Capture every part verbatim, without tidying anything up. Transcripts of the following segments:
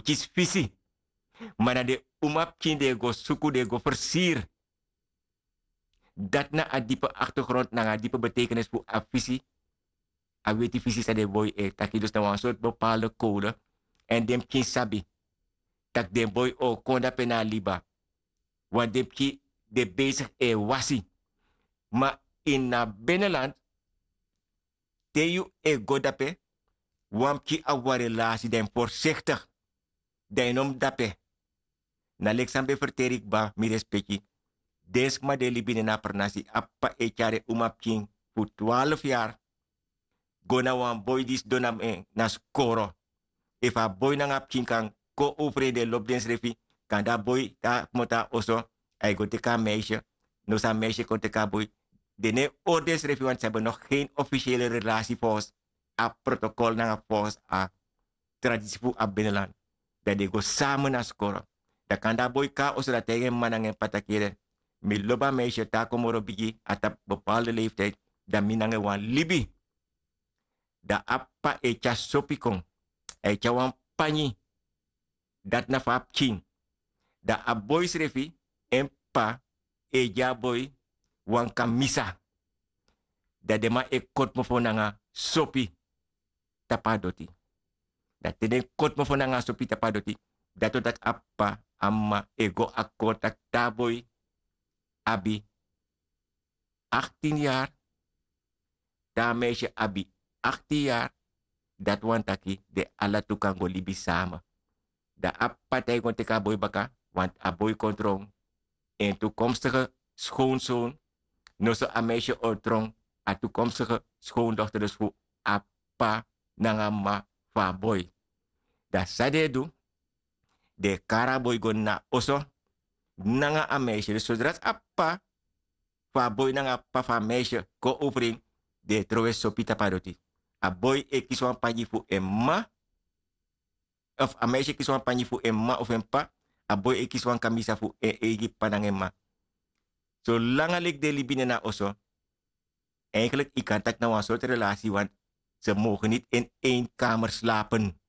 kisi fisi. Ma na den umapikin den e go suku, den e go fersiri. Dati na a dipe aktergrond nanga a dipe betekenis fu a fisi. A weti fisi san den boi e taki, dus na wan sortu bepaalde kode. Èn den pikin sabi tak' den boi o kon dape na a liba. Want den pikin de besigi e wasi. Ma ini a beneland, te yu e go dape, wan pikin abi wan relasi, dan yu mus forsiktig. Dan yu no mus dape. Na leki san mi ben ferteri kba, mi respeki. Den sma di e libi ini a pernasi, a p'pa e tyari en umapikin fu twaalf yari go na wan boi di sidon na, eh, na skoro. Efu a boi nanga a pikin kan kon ofrei, den lobi densrefi. Kande a boi te a kmoto na oso, a e go teki a meisje. Noso a meisje kon teki a boi. Den no e hori densrefi, want ze hebben nog geen officiële relatie volgens a protocol nanga volgens a tradisi fu a beneland. Dan den e go samen na skoro. Dan kande a boi kon na oso, dan a taigi en mama nanga en p'pa taki: "Ede, mi lobi a meisje, te a kon moro bigi, a tapu bepaalde leeftijd, dan mi nanga en wani libi." Dan a p'pa e tyari sopi kon. A e tyari wan panyi. Dati na fu a pikin. Dan a boi srefi, en p'pa e gi a boi wan kamisa. Dan den man e koti mofo nanga sopi tapu a doti. Dan te den koti mofo nanga sopi tapu a doti, dati wani taki a p'pa, a mama e go akkoord taki te a boi abi achttien yari, te a meisje abi achttien yari, dati wani taki den ala tu kan go libi samen. Dan a p'pa taigi kon teki a boi baka, want a boi kon tron en toekomstige schoonzoon, noso a meisje o tron a toekomstige schoondochter, dus fu a p'pa nanga mama fu a boi. Dan san den e du, den e kari a boi go na oso nanga a meisje. Dus zodra a p'pa fu a boi nanga a p'pa fu a meisje kon ofrei, den e trowe sopi tapu a doti. A boi e kisi wan panyi fu en mama, of a meisje e kisi wan panyi fu en mama of en p'pa, a boi e kisi wan kamisa fu en eigi p'pa nanga en mama. Solanga leki den e libi ini a oso, eigenlijk yu kan taki na wan sortu relasi, want ze mogen niet in één kamer slapen.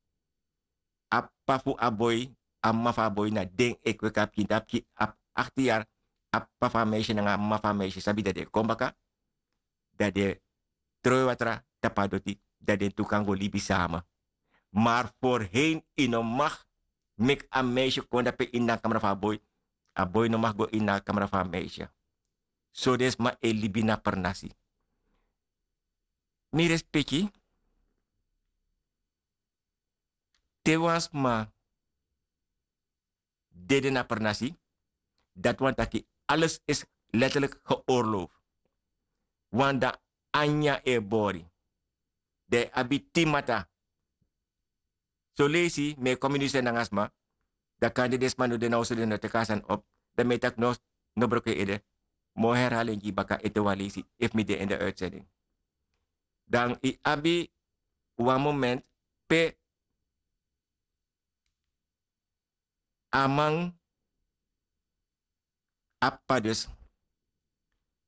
A p'pa fu a boi, a mama fu a boi, na den e kweki a pikin. Te a pikin abi achttien yari, a p'pa fu a meisje nanga a mama fu a meisje sabi dati den e kon baka, dan den e trowe watra tapu a doti, dan den tu kan go libi samen. Maar voorheen yu no mag meki a meisje kon dape ini a kamra fu a boi, a boi no mag go ini a kamra fu a meisje. So den sma e libi na pernasi. Mi respeki, te wan sma dede na pernasi, dati wani taki alles is letterlijk geoorloofd. Want dan a nyanyan e bori. Dan yu abi tin mata. Son leisi mi e kon mi nu seni nanga sma, dan kande den sma no de na oso, den no teki a sani op. Dan mi e taki no, no broko yu ede. Mi o herhaling gi baka ete wan leisi efu mi de in de uitzending. Dan yu abi wan moment pe a man, a p'pa dus,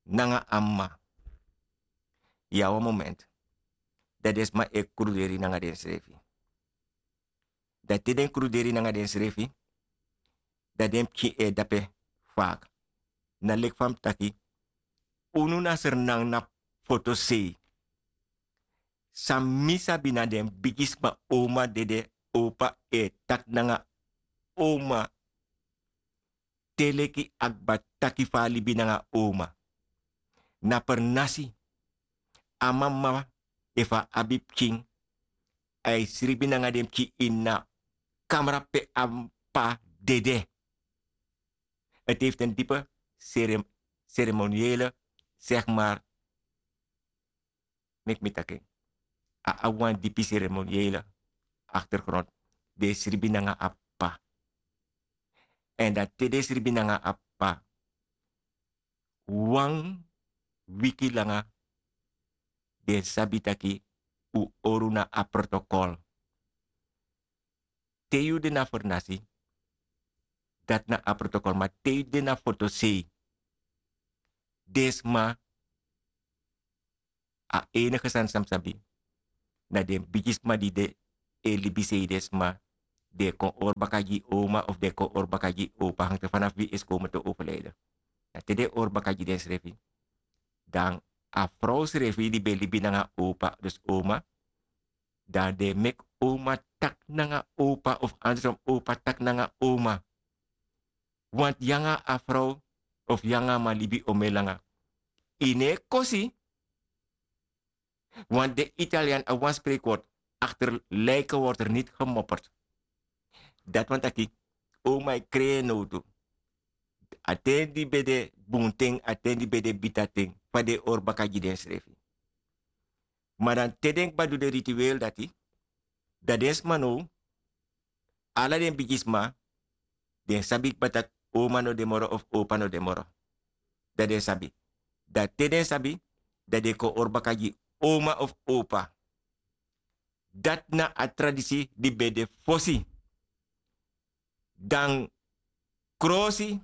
nanga a mama. Yu abi wan moment, dan den sma e kruderi nanga densrefi. Dan te den kruderi nanga densrefi, dan den pikin e dape fak. Na leki fa mi taki, unu na Sranan na fotosei. San mi sabi na den bigisma, oma dede, opa e taki nanga oma te leki a kba taki fa a libi nanga oma. Na pernasi, a mama, efu a abi pikin, a e sribi nanga den pikin ini a kamra pe a p'pa dede. Het heeft een diepe cere-, ceremoniële, zeg maar, meki mi taki en. A abi wan dipi ceremoniële achtergrond. Den e sribi nanga a p'pa. Èn dan te den e sribi nanga a p'pa, wan wiki langa, den sabi taki un hori unu na a protokol. Te yu de na fernasi, dati na a protokol, ma te yu de na fotosei, den sma, a enige sani san mi sabi, na den bigisma di de e libisei, den sma den e kon hori baka gi oma of den e kon hori baka gi opa, hangte fanafu wi esi kon mutu overlijden. Na te den e hori baka gi densrefi, dan a frow srefi di ben libi nanga opa, dus oma, dan den e meki oma taki nanga opa of andersom opa taki nanga oma. Want yu nanga a frow of yu nanga a man libi omeni langa, yu no e kosi. Want den Italian abi wan spreekwoord: achter lijken wordt er niet gemopperd. Dati wani taki, oma e krei en nowtu. A ten di ben de bun ten, a ten di ben de bita ten, fa den e hori baka gi densrefi. Ma dan te den kba du den ritueel dati, dan den sma now, ala den bigisma, den sabi kba taki oma no de moro of opa no de moro. Dan den sabi. Dan te den sabi, dan den kon hori baka gi oma of opa. Dati na a tradisi di ben de fosi. Dan krosi,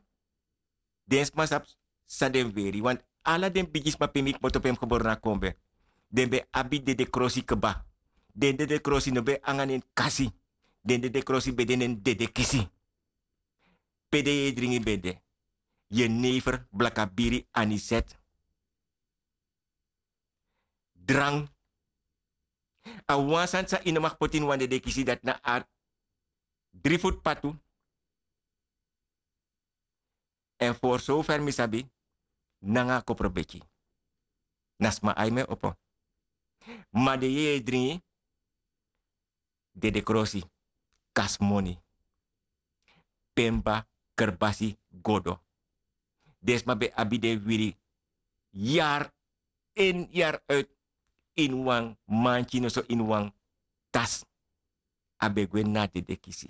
den sma sabi san den weri. Want ala den bigisma pe mi kmoto pe mi gebore na kombe, den ben abi dede krosi kba. Den dede krosi no ben nanga nen kasi. Den dede krosi ben de nen dede kisi. Pe den yeye dringi ben de: jenever, blakabiri, aniset, drank. A wan sani san yu no mag poti ini wan dede kisi, dati na a dri futu patu. Èn for sover mi sabi, nanga a koprobeki. Na sma ai mi e opo. Ma den yeye dringi, dede krosi, kasmoni, pemba, kerbasi, godo. Den sma ben abi den wiri yari in yari uit ini wan manti, noso ini wan tas. A ben gwe na dede kisi.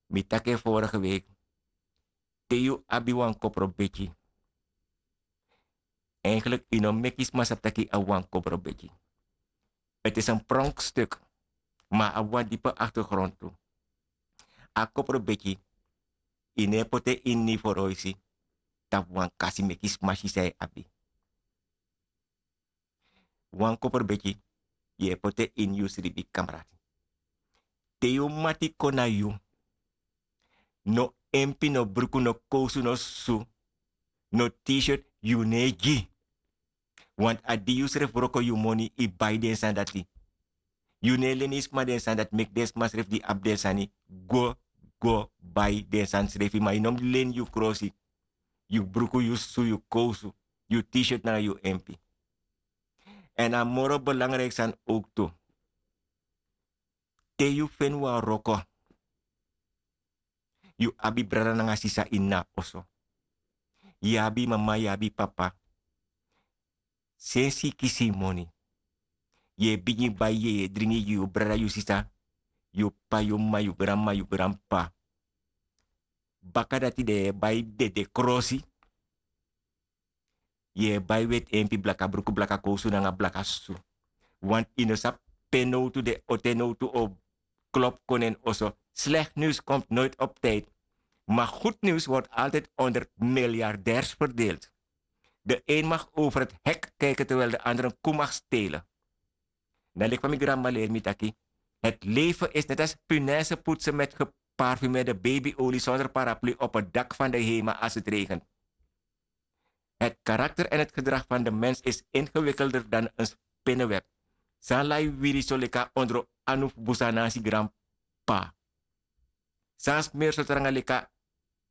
Mi taki en vorige week. Te yu abi wan koprobeki, eigenlijk yu no meki sma sabi taki yu abi wan koprobeki. Het is een pronkstuk, ma a abi wan dipe achtergrond tu. A koprobeki, yu no e poti en ini foroisi tapu wan kasi meki sma si san yu abi. Wan koprobeki, yu e poti en ini yu sribi kamrati. Te yu mati kon na yu, no empi, no bruku, no kowsu, no susu, no t-shirt, yu no e gi. Want a di yu srefi wroko yu moni, yu bai den sani dati. Yu no e leni sma den sani dati, meki den sma srefi di abi den sani go, go bai den sani srefi. Ma yu no mus leni yu krosi, yu bruku, yu susu, yu kowsu, yu t-shirt nanga yu empi. Èn a moro belangrijk sani ook tu. Te yu feni wan wroko, yu abi brada nanga sisa ini a oso. Yu abi mama, yu abi papa. Sensi yu kisi yu moni, yu e bigin bai, yu e dringi gi yu brada, yu sisa, yu p'pa, yu m'ma, yu granma, yu granp'pa. Baka dati den e bai dede krosi. Yu e bai weti empi, blaka bruku, blaka kowsu nanga blaka susu. Want yu no sabi pe nowtu den o, te nowtu o klop kon na en oso. Slecht nieuws komt nooit op tijd, maar goed nieuws wordt altijd onder miljardairs verdeeld. De een mag over het hek kijken terwijl de ander een koe mag stelen. Na leki fa mi granma leri mi taki: het leven is net als punaise poetsen met geparfumeerde babyolie zonder paraplu op het dak van de HEMA als het regent. Het karakter en het gedrag van de mens is ingewikkelder dan een spinnenweb. San lai wiri so leki a ondro anu fu busa nanga si granp'pa. San smeri so tranga leki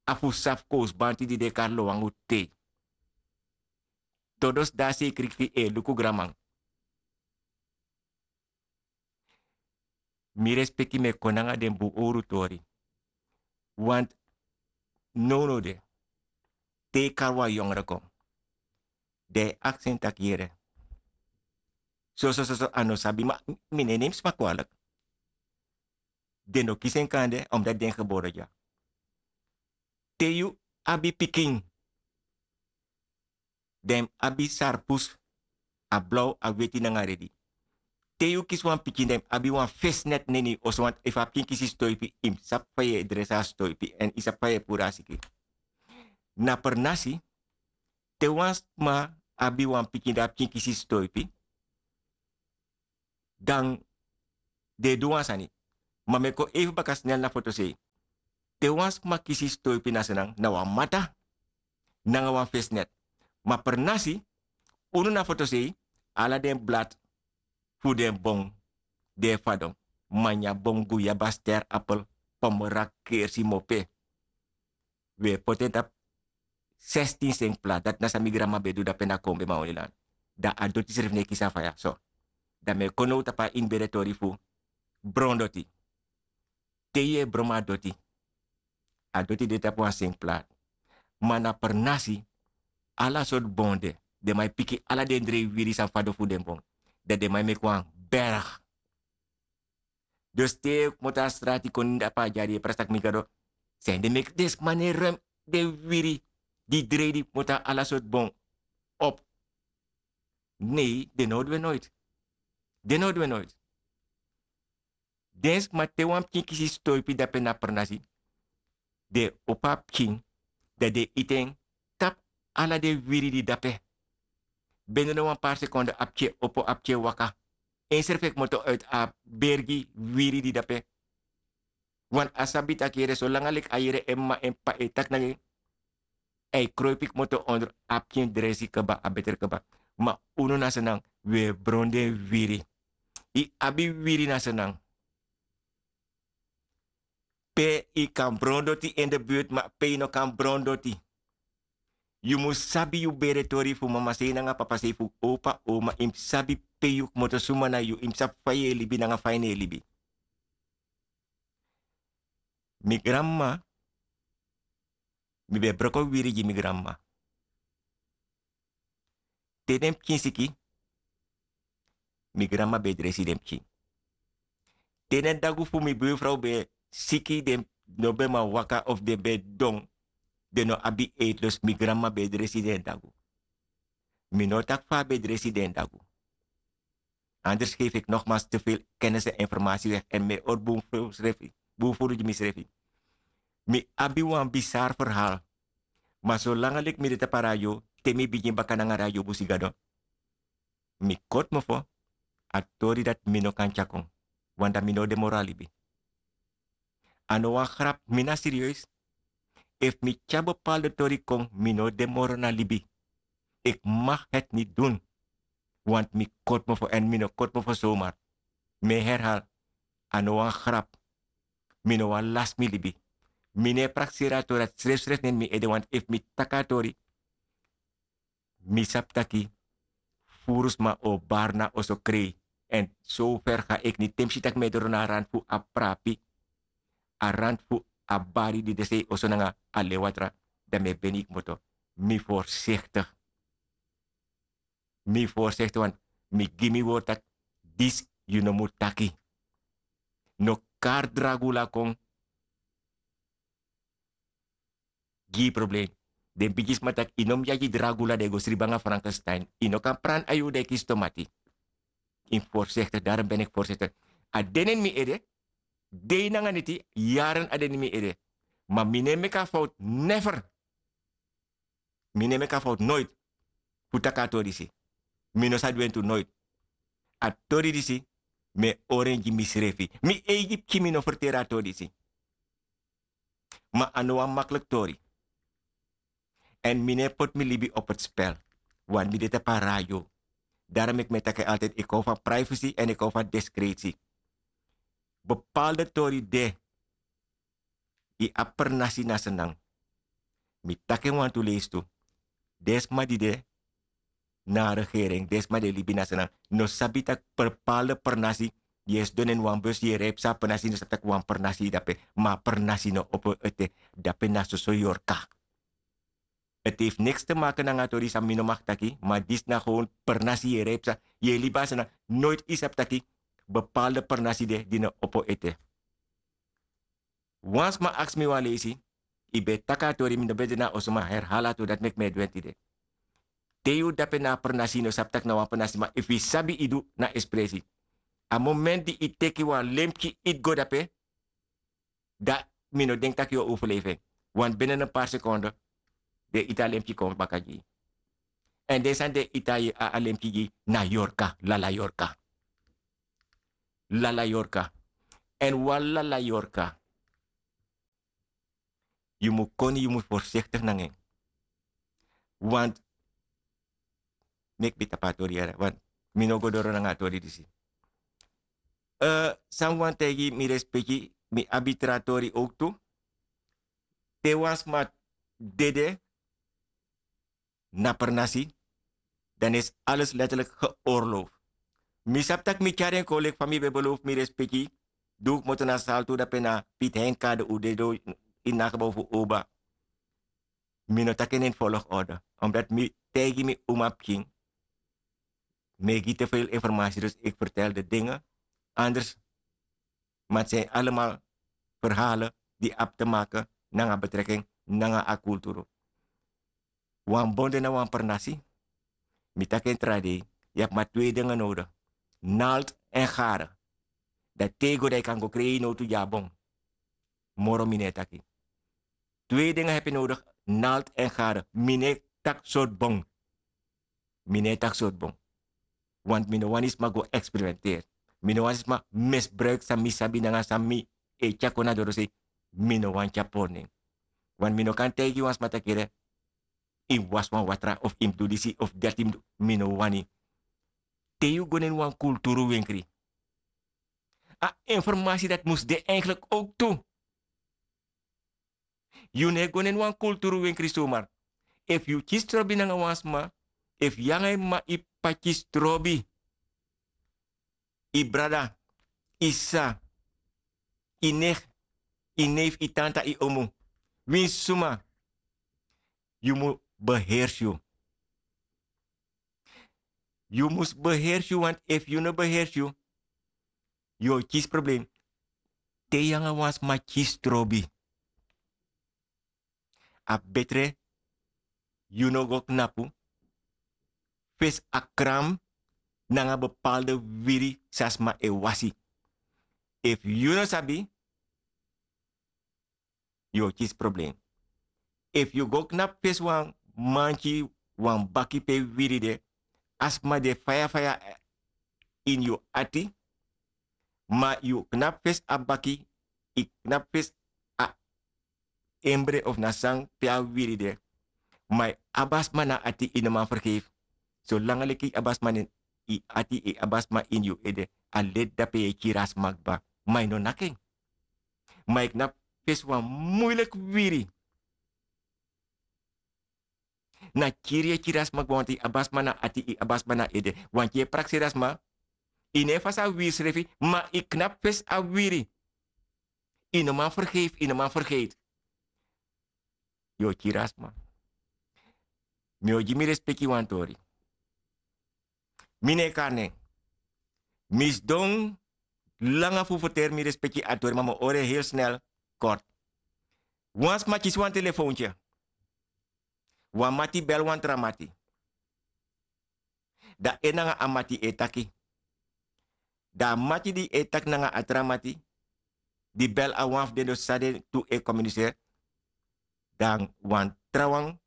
a fusa fu kowsu banti di den e kari lowangu tei. Todo si de a sekriki e luku granman. Mi respeki mi e kon nanga den bun owru tori. Want nownow de, te yu kari wan yongre kon, den e aksi en taki: yere, soso soso, a no sabi, ma mi no e nemi sma kwalik. Den no kisi en kande, omdat den gebore dya. Te yu abi pikin, den mus abi sarpus, a blaw, a weti nanga redi. Te yu kisi wan pikin, den mus abi wan fesnet na ini yu oso, want efu a pikin kisi stoipi, yu mus sabi fa yu e dresi a stoipi èn yu sabi fa yu e puru a siki. Na pernasi, te wan sma abi wan pikin, dan a pikin kisi stoipi, dan den e du wan sani. Ma mi e kon efu baka snel na fotosei. Te wan sma kisi stoipi na senan na wan mata nanga wan fesnet. Ma pernasi, unu na fotosei, ala den blad fu den bon den e fadon. Manya bon guya baster apel, pomera kersi mope. Wi e poti en tapu sestin sengpla dati na san mi granma ben du dape na kombe maonilan. Dan a doti srefi no e kisi a faya so. Dan mi e kon now tapu a ini bere tori fu brondoti. Te yu e bron mi a doti, a doti de tapu wan sengpla. Ma na pernasi, ala sortu bon de. Den man e piki ala den drei wiri san fadon fu den bon. Dan den man e meki wan berg. Dus te yu kmoto a strati kon ini dapu a dyari e prasi tak' mi gado, san ede meki den sma no e ruim den wiri di drei di kmoto na ala sortu bon op? Nei, den no o du en noiti. Den no o du en noiti. Den sma te wan pikin kisi stoipi dape na pernasi, den opo a pikin, dan den iti en tapu ala den wiri di dape. Bende no wan pari sekonde a pikin e opo, a pikin e waka. Ensrefi e kmoto uiti a bergi wiri di dape. Wan a sabi tak' yere solanga leki a yere en m'ma en p'pa e taki nanga en, a e kroipi kmoto ondro. A pikin dresi kaba, a betre kaba. Ma unu na senan, wi e bron den wiri. Yu abi wiri na senan. Pe yu kan bron doti in de buurt, ma pe yu no kan bron doti, yu mus sabi yu bere tori fu mamasei nanga papasei, fu opa, oma. Yu mus sabi pe yu kmoto, suma na yu. Yu mus sabi fa yu e libi nanga fa yu no e libi. Mi granmama, mi ben broko wiri gi mi granmama. Te den pikin siki, mi granmama ben e dresi den pikin. Te den dagu fu mi buurvrouw ben siki, den no ben man waka of den ben don, den no abi eetlust, mi granmama ben e dresi den dagu. Mi no o taki fa a ben e dresi den dagu. Anders geef ik nogmaals te veel kennis en informatie weg en mi e hori bun furu gi misrefi. Mi abi wan bizar verhaal. Ma solanga leki mi de tapu a radio, te mi bigin baka nanga radio busi gado, mi koti mofo, a tori dati mi no kan tyari kon. Want dan mi no o de moro na libi. A no wan grap, mi na serieus. Efu mi tyari bepaalde tori kon, mi no o de moro na libi. Ik mag het niet doen. Want mi koti mofo, en mi no koti mofo zomaar. Mi e herhaal, a no wan grap. Mi no wani lasi mi libi. Mi no e prakseri a tori dati srefsrefi na ini mi ede, want efu mi taki a tori, mi sabi taki furu sma o bari na oso krei. En so ver ga ik niet. Te mi si taki mi e doro na a rand fu a prapi, a rand fu a bari di de sei oso nanga a lewatra, dan mi e beni kmoto. Mi voorzichtig. Mi voorzichtig, want mi gi mi word taki disi yu no mu taki. No kari dragula kon gi yu probleem. Den bigisma taki yu no mu yagi dragula, den go sribi nanga Frankenstein. Yu no kan prani a yuru dan yu kisi tomati. Yu mus voorzichtig, daarom ben ik voorzichtig. A de na ini mi ede, dei nanga neti, yaren a de na ini mi ede. Ma mi no e meki a fout, never. Mi no e meki a fout, nooit. Fu taki a tori disi. Mi no sa du en tu, nooit. A tori disi, mi e hori en gi misrefi. Mi eigi pikin mi no ferteri a tori disi. Ma a no wan makkelijk tori. En mi no e poti mi libi op het spel. Want mi de tapu a radio. Daarom meki mi e taki altijd, ik hou van privacy en ik hou van discretie. Bepaalde tori de, yu abi pernasi na Sranan. Mi taki en wantu leisi tu. Den sma di de na a regering, den sma di e libi na Sranan, no sabi taki bepaalde pernasi, yu e sidon na ini wan bus, yu e rij psa, a pernasi no sabi taki wan pernasi de dape. Ma a pernasi no opo ete. Dape na soso yorka. Het heeft niks te maken nanga a tori san mi no mag taki, ma disi na gewoon pernasi, yu e rij psa, yu e libi na Sranan, nooit yu sabi taki bepaalde pernasi de di no opo ete. Wan sma aksi mi wan leisi, yu ben e taki a tori, mi no ben de na oso, ma herhaal a tori, dati meki mi e du en tide. Te yu dape na a pernasi, yu no sabi taki na wan pernasi, ma efu yu sabi, yu du na espresi. A moment di yu teki wan lemki iti go dape, dan mi no denki taki yu o overleven. Want binnen een paar seconden den iti a lemki kon baka gi yu. En den sani den iti a, a lemki gi yu na yorka, lala yorka. Lala yorka. Èn wan lala yorka, yu mus koni, yu mus forsiktik nanga en. Want meki mi tapu a tori yara, want mi no go doro nanga a tori disi. San mi wani taigi mi respeki, mi abi tra tori owktu. Te wan sma dede na pernasi, dan is alles letterlijk geoorloofd. Mi sabi tak' mi tyari en kon leki fa mi ben beloof mi respeki. Di un kmoto na saltu dape na Piet Hein kade un dede ini a gebouw fu oba. Mi no taki en ini volgorde, omdat mi taigi mi umapikin. Mi e gi te veel informasi, dus ik vertel de dingen. Anders, maar het zijn allemaal verhalen die abi te maken nanga betrekking nanga a kulturu. Wan bon de na wan pernasi. Mi taki en tra dei, yu abi ma twee dingen nodig. Nalt en gare. Dan te yu go dan yu kan go krei yu nowtu gi a bon. Moro mi no e taki. Twee dingen heb yu nodig. Nalt en gare. Mi no e taki sortu bon. Mi no e taki sortu bon. Want mi no wani sma go eksperimenteri. Mi no wani sma misbruik san mi sabi nanga san mi e tyari kon na dorosei. Mi no wani tyari pori nen. Want mi no kan taigi wan sma taki yu mus wasi wan watra of yu mus du disi of dati yu mus du. Mi no wani. Te yu go na ini wan kulturu wenkri, a informasi dati mus de eigenlijk owktu. Yu no e go na ini wan kulturu wenkri somar. Efu yu kisi trobi nanga wan sma, efu yu nanga yu m'ma, yu p'pa kisi trobi, yu brada, yu sisa, yu neef, yu neef, yu tanta, yu omu, winsi suma, yu mus beheersi yu. Yu mus beheersi yu, want efu yu no beheersi yu, yu o kisi problem. Te yu nanga wan sma kisi trobi, a betre yu no go knapu fesi a kram nanga bepaalde wiri san sma e wasi. Efu yu no sabi, yu o kisi problem. Efu yu go knapu fesi wan manki, wan baki pe wiri de, a sma de faya faya ini yu ati. Ma yu knapu fesi a baki, yu knapu fesi a embre of na san pe a wiri de. Ma yu abi a sma na ati, yu no man fergeifi. Solanga leki yu abi a sma na yu ati, yu abi a sma ini yu ede, a leti dape yu e kiri a sma kba. Ma yu no naki en. Ma yu knapu fesi wan muiliki wiri. Na kiri yu e kiri a sma kba, want yu abi a sma na ati, yu abi a sma na ede. Want yu e prakseri a sma. Yu no e fasi a wiri srefi, ma yu knapu fesi a wiri. Yu no man fergeifi, yu no man fergeifi. Yu o kiri a sma. Mi o gi mi respeki wan tori. Mi no e kari nen. Mi sidon langa fu ferteri mi respeki a tori, ma mi o hori en heel snel, kort. Wan sma kisi wan telefoontye. Wan mati bel wan tra mati. Dan en nanga a mati e taki. Dan a mati di e taki nanga a tra mati, di bel a wan fu den, dus san den tu e komuniseri. Dan wan trawan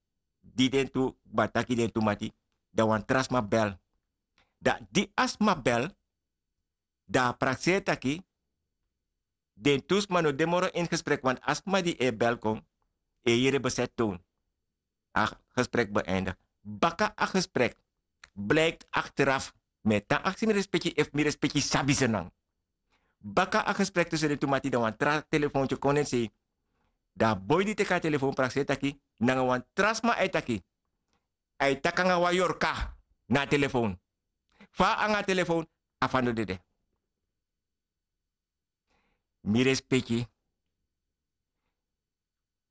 di den tu kba taki den tu mati, dan wan tra sma bel. Dan di a sma bel, dan a prakseri taki den tu sma no de moro ini gesprek, want a sma di e bel kon e yere beset toon. A gesprek beëindig. Baka a gesprek blijkt achteraf. Mi e tan aksi mi respeki efu mi respeki sabi senan. Baka a gesprek tussen den tu mati, dan wan tra telefoontye kon en sei. Dan a boi di teki a telefoon prakseri taki nanga wan tra sma, a e taki. A e taki nanga wan yorka na a telefoon. Fa a nanga a telefoon, a fa no dede. Mi respeki.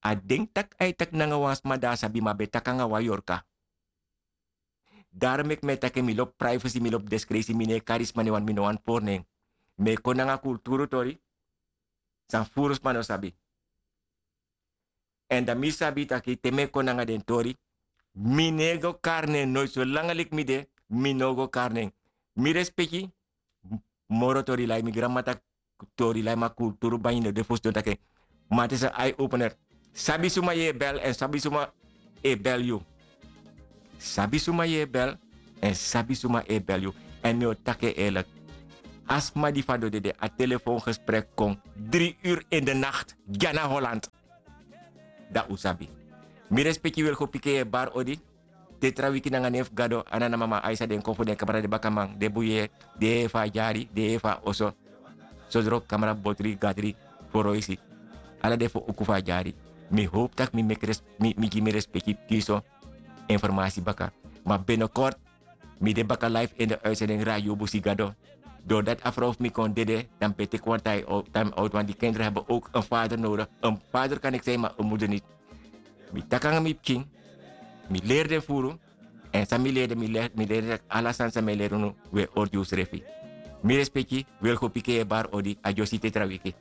A denki tak' a e taki nanga wan sma di a sabi, ma a ben taki nanga wan yorka. Daro meki mi e taki, mi lobi privacy, mi lobi deskresi, mi no e kari sma nen, want mi no wani pori nen. Mi e kon nanga kulturu tori san furu sma no sabi. Èn dan mi sabi taki te mi e kon nanga den tori, mi no e go kari nen noiti, solanga leki mi de, mi no o go kari nen. Mi respeki. Moro tori lai, mi granmama taki tori lai, ma kulturu bani no de fu sidon taki en. Ma a ten san eye opener. Sabi suma yu e bel èn sabi suma e bel yu. Sabi suma yu e bel èn sabi suma e bel yu. Èn mi o taki en eerlijk. A sma di fadon dede a telefoon gesprek kon dri ur in de nacht, gi a na holland. Dan un sabi. Mi respeki wil go piki en bar odi. Te tra wiki nanga nen fu gado a na na mama aisa den kon fu den kamra den bakaman den bun yee, den yee fu a dyari, den yee fu a oso. Sodro kamra botri gadri, foroisi. Ala den fu uku fu a dyari. Mi howpu tak' mi gi mi respeki pikin so informasi baka. Ma binekort mi de baka life in de uitsending radio busi gado. Dordati a frow fu mi kon dede dan mi ben teki wan time out want di kindri heben owk en fader nodigi. En fader kan eki sei ma en muder niti. Mi taki nanga mi pikin, mi leri den furu. Èn san mi leri den mi leri den taki ala sani san mi e leri unu. Un e ordi unsrefi. Mi respeki, wi e go piki en bar odi a dyosi te tra wiki.